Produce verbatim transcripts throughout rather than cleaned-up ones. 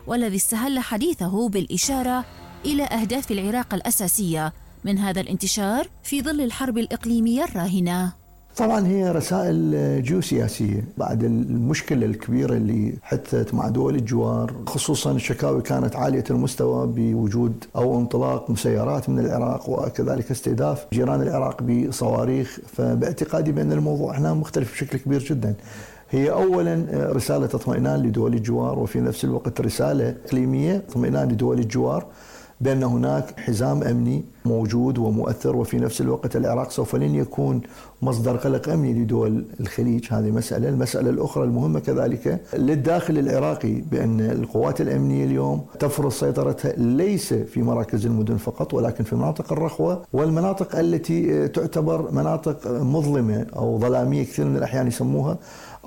والذي استهل حديثه بالإشارة إلى أهداف العراق الأساسية من هذا الانتشار في ظل الحرب الإقليمية الراهنة. طبعا هي رسائل جيوسياسية بعد المشكلة الكبيرة اللي حدثت مع دول الجوار، خصوصا الشكاوي كانت عالية المستوى بوجود أو انطلاق مسيرات من العراق وكذلك استهداف جيران العراق بصواريخ. فباعتقادي بأن الموضوع هنا مختلف بشكل كبير جدا. هي أولا رسالة اطمئنان لدول الجوار، وفي نفس الوقت رسالة إقليمية اطمئنان لدول الجوار بأن هناك حزام أمني موجود ومؤثر، وفي نفس الوقت العراق سوف لن يكون مصدر قلق أمني لدول الخليج. هذه مسألة. المسألة الأخرى المهمة كذلك للداخل العراقي بأن القوات الأمنية اليوم تفرض سيطرتها ليس في مراكز المدن فقط، ولكن في مناطق الرخوة والمناطق التي تعتبر مناطق مظلمة أو ظلامية كثير من الأحيان يسموها،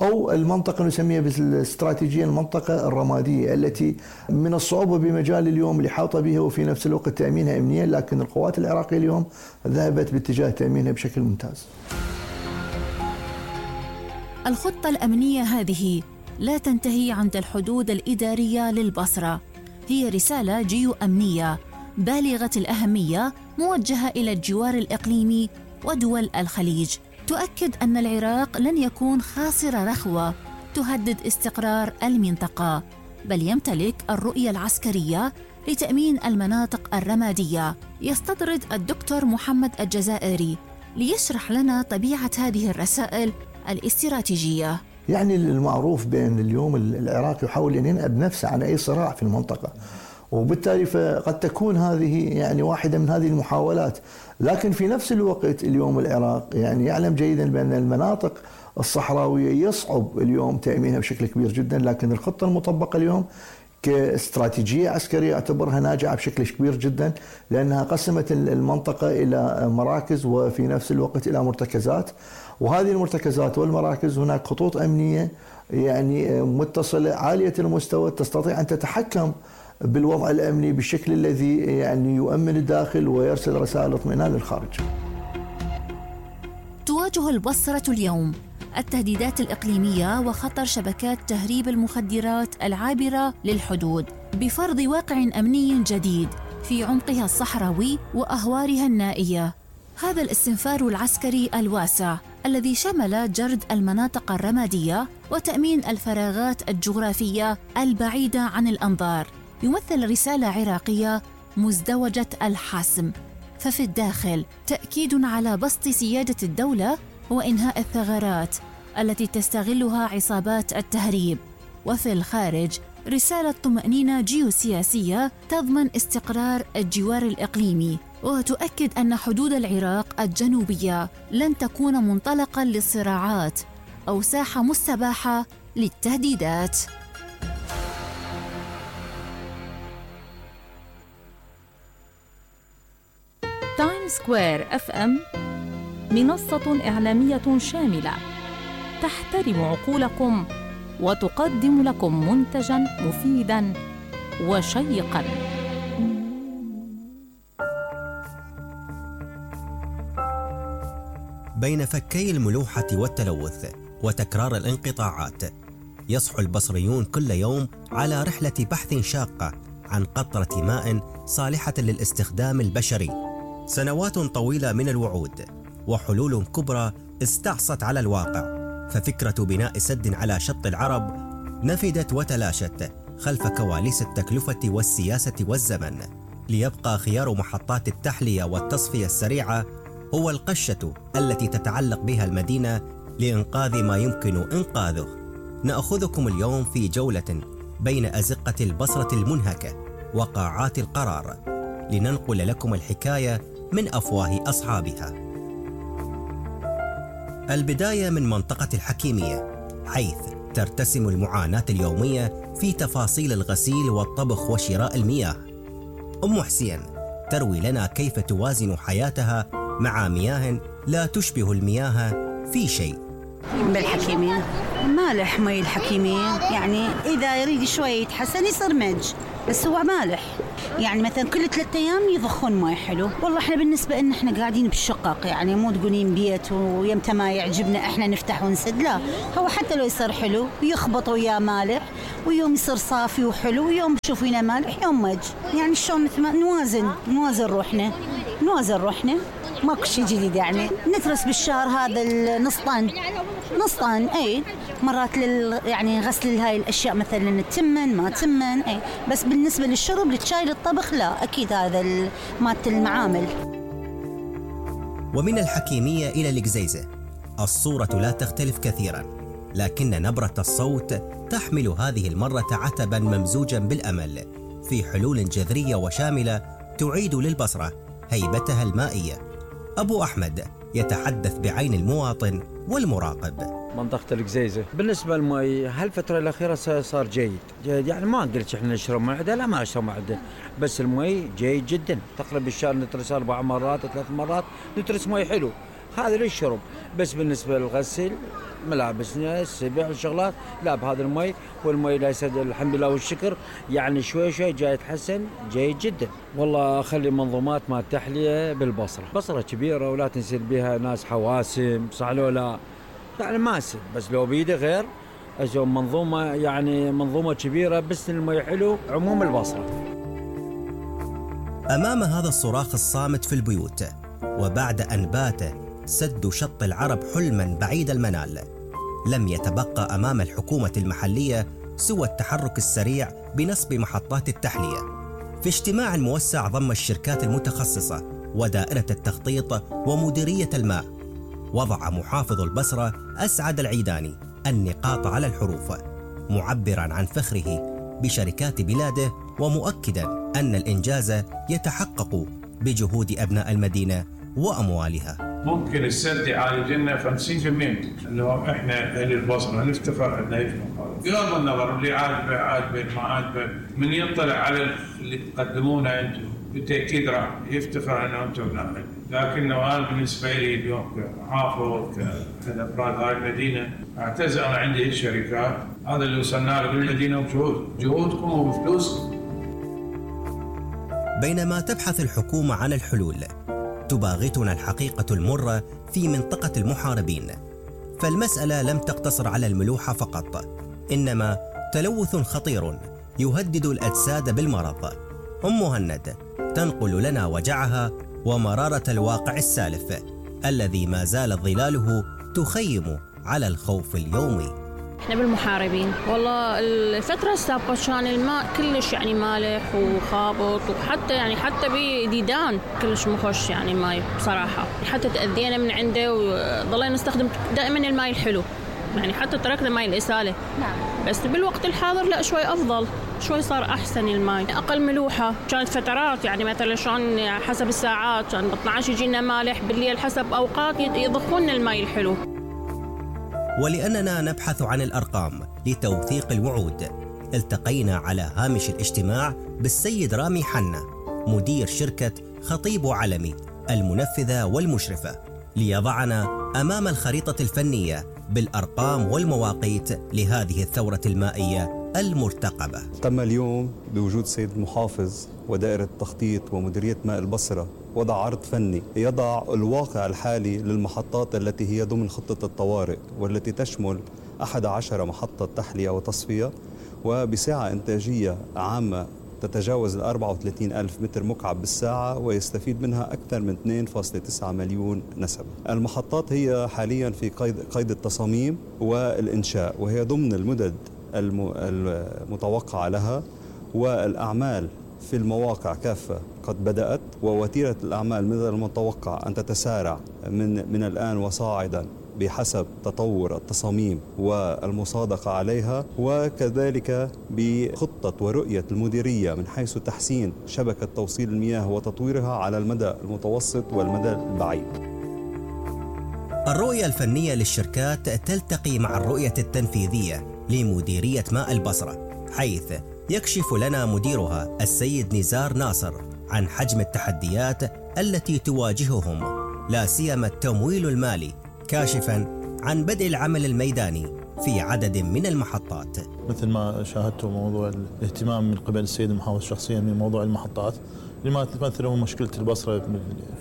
أو المنطقة نسميها بالاستراتيجية المنطقة الرمادية التي من الصعوبة بمجال اليوم الإحاطة بها وفي نفس الوقت تأمينها أمنيا، لكن القوات العراقية اليوم ذهبت باتجاه تأمينها بشكل ممتاز. الخطة الأمنية هذه لا تنتهي عند الحدود الإدارية للبصرة، هي رسالة جيو أمنية بالغة الأهمية موجهة إلى الجوار الإقليمي ودول الخليج، تؤكد أن العراق لن يكون خاصر رخوة تهدد استقرار المنطقة، بل يمتلك الرؤية العسكرية لتأمين المناطق الرمادية. يستطرد الدكتور محمد الجزائري ليشرح لنا طبيعة هذه الرسائل الاستراتيجية. يعني المعروف بأن اليوم العراق يحاول أن ينأب نفسه عن أي صراع في المنطقة، وبالتالي فقد تكون هذه يعني واحدة من هذه المحاولات. لكن في نفس الوقت اليوم العراق يعني يعلم جيدا بأن المناطق الصحراوية يصعب اليوم تأمينها بشكل كبير جدا، لكن الخطة المطبقة اليوم كاستراتيجية عسكرية أعتبرها ناجعة بشكل كبير جدا، لأنها قسمت المنطقة إلى مراكز وفي نفس الوقت إلى مرتكزات، وهذه المرتكزات والمراكز هناك خطوط أمنية يعني متصلة عالية المستوى تستطيع أن تتحكم بالوضع الأمني بالشكل الذي يعني يؤمن الداخل ويرسل رسائل اطمئنان للخارج. تواجه البصرة اليوم التهديدات الإقليمية وخطر شبكات تهريب المخدرات العابرة للحدود بفرض واقع أمني جديد في عمقها الصحراوي وأهوارها النائية. هذا الاستنفار العسكري الواسع الذي شمل جرد المناطق الرمادية وتأمين الفراغات الجغرافية البعيدة عن الأنظار يمثل رسالة عراقية مزدوجة الحسم، ففي الداخل تأكيد على بسط سيادة الدولة وإنهاء الثغرات التي تستغلها عصابات التهريب، وفي الخارج رسالة طمأنينة جيوسياسية تضمن استقرار الجوار الإقليمي وتؤكد أن حدود العراق الجنوبية لن تكون منطلقاً للصراعات أو ساحة مستباحة للتهديدات. تايم سكوير اف ام منصة إعلامية شاملة تحترم عقولكم وتقدم لكم منتجاً مفيداً وشيقاً. بين فكي الملوحة والتلوث وتكرار الانقطاعات، يصحو البصريون كل يوم على رحلة بحث شاقة عن قطرة ماء صالحة للاستخدام البشري. سنوات طويلة من الوعود وحلول كبرى استعصت على الواقع، ففكرة بناء سد على شط العرب نفدت وتلاشت خلف كواليس التكلفة والسياسة والزمن، ليبقى خيار محطات التحلية والتصفية السريعة هو القشة التي تتعلق بها المدينة لإنقاذ ما يمكن إنقاذه. نأخذكم اليوم في جولة بين أزقة البصرة المنهكة وقاعات القرار، لننقل لكم الحكاية من أفواه أصحابها. البداية من منطقة الحكيمية، حيث ترتسم المعاناة اليومية في تفاصيل الغسيل والطبخ وشراء المياه. أم حسين تروي لنا كيف توازن حياتها مع مياه لا تشبه المياه في شيء. بالحكيمية مالح مي الحكيمية، يعني إذا يريد شوي يتحسن يصير مج، بس هو مالح، يعني مثلا كل ثلاثة أيام يضخون ماي حلو. والله إحنا بالنسبة إن إحنا قاعدين بالشقق، يعني مو تقولين بيت ويمتى ما يعجبنا إحنا نفتح ونسد، لا، هو حتى لو يصير حلو يخبط وياه مالح، ويوم يصير صافي وحلو، ويوم تشوفينه مالح، يوم مج. يعني شلون مثل ما نوازن نوازن روحنا نوازن روحنا ماكو شيء جديد. يعني نترس بالشهر هذا النص طن نص طن اي مرات لل يعني غسل هاي الاشياء مثلا تمن ما تمن اي. بس بالنسبه للشرب للشاي للطبخ لا، اكيد هذا مالت المعامل. ومن الحكيميه الى القزيزه الصوره لا تختلف كثيرا، لكن نبره الصوت تحمل هذه المره عتبا ممزوجا بالامل في حلول جذريه وشامله تعيد للبصره هيبتها المائيه. أبو أحمد يتحدث بعين المواطن والمراقب. منطقة القزيزة بالنسبة للمي هالفترة الأخيرة صار جيد جيد، يعني ما قلت إحنا نشرب مي عدة، لا ما نشرب مي عدة، بس المي جيد جدا. تقريبا بالشهر نترس أربع مرات ثلاث مرات نترس مي حلو، هذا للشرب. بس بالنسبة للغسل ملابسنا السبع الشغلات لا بهذا المي، والمي لا يسد الحمد لله والشكر، يعني شوي شوي جاي يتحسن جيد جدا. والله اخلي منظومات مال تحليه بالبصره، بصره كبيره ولا تنسل بها ناس حواسم صح لو لا، يعني ماسل بس لو بيده غير اجو منظومه، يعني منظومه كبيره بس المي حلو عموم البصره. امام هذا الصراخ الصامت في البيوت، وبعد ان بات سد شط العرب حلما بعيد المنال، لم يتبقى أمام الحكومة المحلية سوى التحرك السريع بنصب محطات التحلية. في اجتماع موسع ضم الشركات المتخصصة ودائرة التخطيط ومديرية الماء، وضع محافظ البصرة أسعد العيداني النقاط على الحروف، معبرا عن فخره بشركات بلاده، ومؤكدا أن الإنجاز يتحقق بجهود أبناء المدينة وأموالها. ممكن السد يعالج لنا خمسين بالمئة لو احنا اهل البصره نفتخر عندنا هيك مقابل. بغض النظر اللي عاجبه عاجبه ما عاجبه، من يطلع على اللي تقدمونه انتم بالتاكيد راح يفتخر انه انتم نعمل. لكنه انا بالنسبه لي اليوم كمحافظ كاحد افراد هاي المدينه اعتز انا عندي الشركات، هذا اللي وصلنا له بالمدينه بجهود جهودكم وبفلوسكم. بينما تبحث الحكومه عن الحلول، تباغتنا الحقيقة المرة في منطقة المحاربين، فالمسألة لم تقتصر على الملوحة فقط، إنما تلوث خطير يهدد الأجساد بالمرض. أم مهند تنقل لنا وجعها ومرارة الواقع السالف الذي ما زالت ظلاله تخيم على الخوف اليومي. احنا بالمحاربين والله الفترة السابقة كان الماء كلش يعني مالح وخابط، وحتى يعني حتى بديدان كلش مخش يعني ماي بصراحة، حتى تأذينا من عنده وضلينا نستخدم دائما الماء الحلو، يعني حتى تركنا ماء الإسالة. نعم. بس بالوقت الحاضر لا شوي أفضل، شوي صار أحسن الماء، أقل ملوحة. كانت فترات يعني مثلا شلون حسب الساعات كان ب اثنعش يجينا مالح، بالليل حسب أوقات يضخون الماء الحلو. ولأننا نبحث عن الأرقام لتوثيق الوعود، التقينا على هامش الاجتماع بالسيد رامي حنا مدير شركة خطيب علمي المنفذة والمشرفة، ليضعنا أمام الخريطة الفنية بالأرقام والمواقيت لهذه الثورة المائية المرتقبة. تم اليوم بوجود سيد المحافظ ودائرة التخطيط ومديرية ماء البصرة وضع عرض فني يضع الواقع الحالي للمحطات التي هي ضمن خطة الطوارئ، والتي تشمل أحد عشر محطة تحلية وتصفية، وبسعة إنتاجية عامة تتجاوز ال أربعة وثلاثين ألف متر مكعب بالساعة، ويستفيد منها أكثر من اثنين فاصلة تسعة مليون نسمة. المحطات هي حاليا في قيد, قيد التصاميم والإنشاء، وهي ضمن المدد المتوقعة لها، والأعمال في المواقع كافة قد بدأت، ووتيرة الأعمال من المتوقع أن تتسارع من, من الآن وصاعدا بحسب تطور التصاميم والمصادقة عليها، وكذلك بخطة ورؤية المديرية من حيث تحسين شبكة توصيل المياه وتطويرها على المدى المتوسط والمدى البعيد. الرؤية الفنية للشركات تلتقي مع الرؤية التنفيذية لمديرية ماء البصرة، حيث يكشف لنا مديرها السيد نزار ناصر عن حجم التحديات التي تواجههم، لا سيما التمويل المالي، كاشفا عن بدء العمل الميداني في عدد من المحطات. مثل ما شاهدتوا موضوع الاهتمام من قبل السيد المحافظ شخصيا من موضوع المحطات لما تمثل هو مشكلة البصرة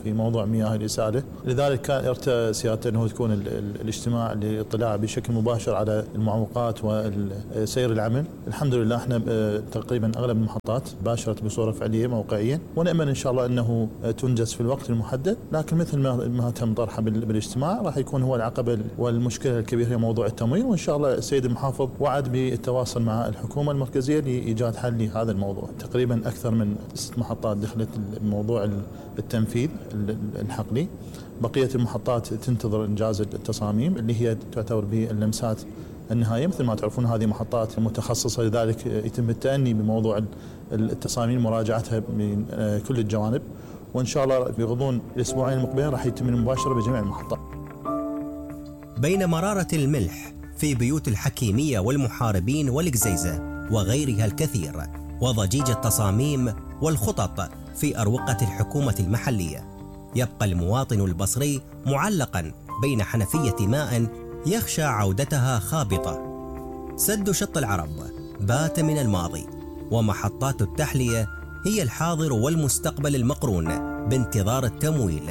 في موضوع مياه الإسالة، لذلك كان ارتأى سيادته أنه تكون الاجتماع للاطلاع بشكل مباشر على المعوقات وسير العمل. الحمد لله احنا تقريبا أغلب المحطات باشرت بصورة فعلية موقعيا، ونأمل إن شاء الله أنه تنجز في الوقت المحدد، لكن مثل ما تم طرحه بالاجتماع راح يكون هو العقبة والمشكلة الكبيرة هي موضوع التمويل، وإن شاء الله السيد المحافظ وعد بالتواصل مع الحكومة المركزية لإيجاد حل لهذا الموضوع. تقريبا أكثر من ست محطات دخلت موضوع التنفيذ الحقلي، بقية المحطات تنتظر إنجاز التصاميم اللي هي تعتبر باللمسات النهائية. مثل ما تعرفون هذه محطات متخصصة، لذلك يتم التأني بموضوع التصاميم مراجعتها من كل الجوانب، وإن شاء الله بغضون الأسبوعين المقبلين راح يتم المباشرة بجميع المحطات. بين مرارة الملح في بيوت الحكيمية والمحاربين والقزيزة وغيرها الكثير، وضجيج التصاميم والخطط في أروقة الحكومة المحلية، يبقى المواطن البصري معلقا بين حنفية ماء يخشى عودتها خابطة. سد شط العرب بات من الماضي، ومحطات التحلية هي الحاضر والمستقبل المقرون بانتظار التمويل،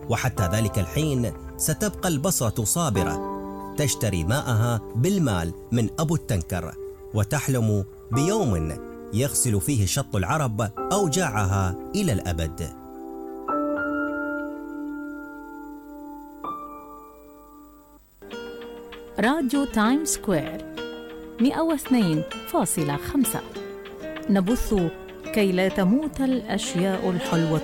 وحتى ذلك الحين ستبقى البصرة صابرة تشتري ماءها بالمال من أبو التنكر، وتحلم بيوم يغسل فيه شط العرب أوجاعها إلى الأبد. راديو تايم سكوير مئة واثنين فاصلة خمسة، نبث كي لا تموت الأشياء الحلوة